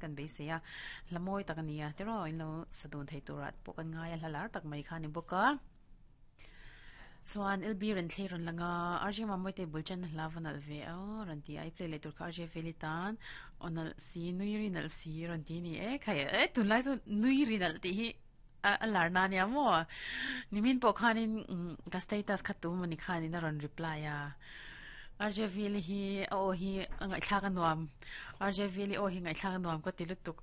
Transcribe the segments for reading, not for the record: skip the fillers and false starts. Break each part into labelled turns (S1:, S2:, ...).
S1: kan beisei a, hla mawi tak a ni a, tiraw in lo sa dun thei turah pawh kan ngai a, hla lar tak mai kha a ni bawk a. Chuan LB rawn thlei rawn lang a, RJ Mamawite bul ṭan hla va nalh ve a rawn ti a, i play leh tur kha RJ Feli tan aw nalh si, nui ri nalh si rawn ti a ni e, khai e tunlai chu nui ri nalh tih hi a lar na nia maw? Nimin pawh khanin ka status kha tu mawni khanin a rawn reply a, RJ Vili hi a aw hi a ngaihthlak a nuam, RJ Vili aw hi ngaihthlak a nuam ka ti lutuk,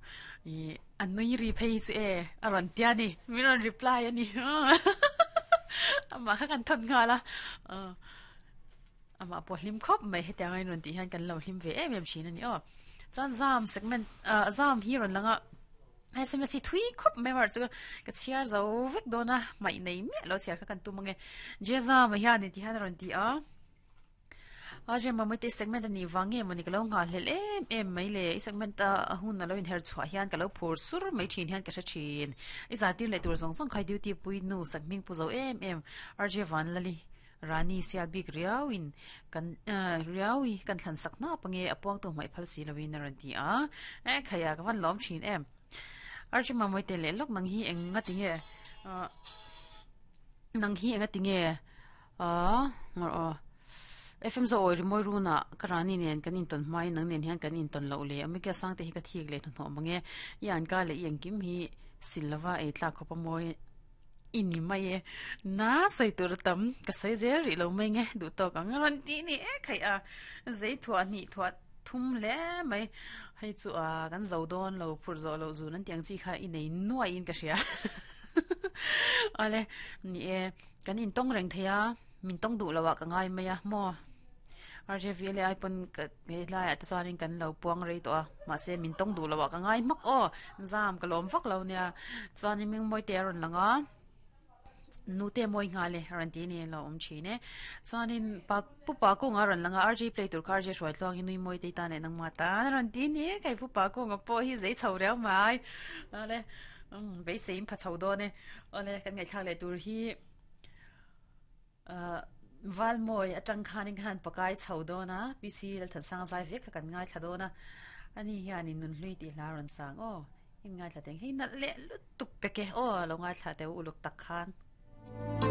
S1: ih a nui ri phei hi chu e a rawn tia ni, min rawn reply a ni amah kha kan thawn nghal a, amah pawh hlim khawp mai hetiang a in rawn tih hian kan lo hlim ve em em thin a ni aw. Chuan zam segment ah zam hi rawn lang a. SMS hi thui khawp mai mar chu ka chhiar zo vek dawn a hmaih nei miah lo chhiar kha kan tum ange Jeza mai hian in ti hian a rawn ti a a je mamawih te segment a nih vang nge mawni ka lo nghah hlelh em em mai le i segment a a hun a lo inher chhuah hian ka lo phur sur mai thin hian ka hre thin i zartir leh tur zawng zawng kha i duty pui nu sakhming pu zo em em RJ Vanlali Rani sial bik riau in kan riau i kan thlan sak hnap ange a puang tu hmaih phal si lo in a rawn ti a e khaia ka van lawm thin em Archie Mamawii te leh lawk nang hi eng nga ti nge nang hi enga ti nge ah ngawr aw FM zo awi rimawi runa ka Rani nen kan intawn hma in nang nen hian kan intawn loh leh Amika Sangte hi ka thik leh hnuhnawh mange i anka leh i engkim hi sil lova ei tlak khawp a mawi I ni mai e. Na sawi tur a tam, ka sawi zel rih lo mai nge, duh tawk ang a rawn tih ni e khaih a, zei thuah hnih thuah thum hle mai, hei chu a kan zo dawn lo phurh zawh loh zun an tih ang chi kha i nei nuaiin ka hria. Awle, ni e, kan intawng reng thei a, min tawng duh loh ah ka ngai mai a maw? RJV leh ai pawn ka he hlaiah te chuanin kan lo puang rei tawh a mahse min tawng duh loh ah ka ngai hmak aw zam ka lawm vak lo nia chuanin Mingmawi te a rawn lang a nute mawi nghal e a rawn ti a ni a lo awm thin e chuanin pa pu pa kawnga a rawn lang a RJ play tur kha RJ hruai tluangin nui mawi te i tan leh nangmah tan a rawn ti a ni e kei pu pa kawnga pawh hi zei chho riau mai awle beiseiin pha chho dawn e awle kan ngaihthlak leh tur hi. Ahh Valmawi atang khanin khan pakai chho dawn a, PC Lalthansanga zai vek kha kan ngaithla dawn a, ani hianin Nunhlui tih hla a rawn sang aw, in ngaithla teng hei nalh leh lutuk pek e aw, lo ngaithla teh u uluk tak khan.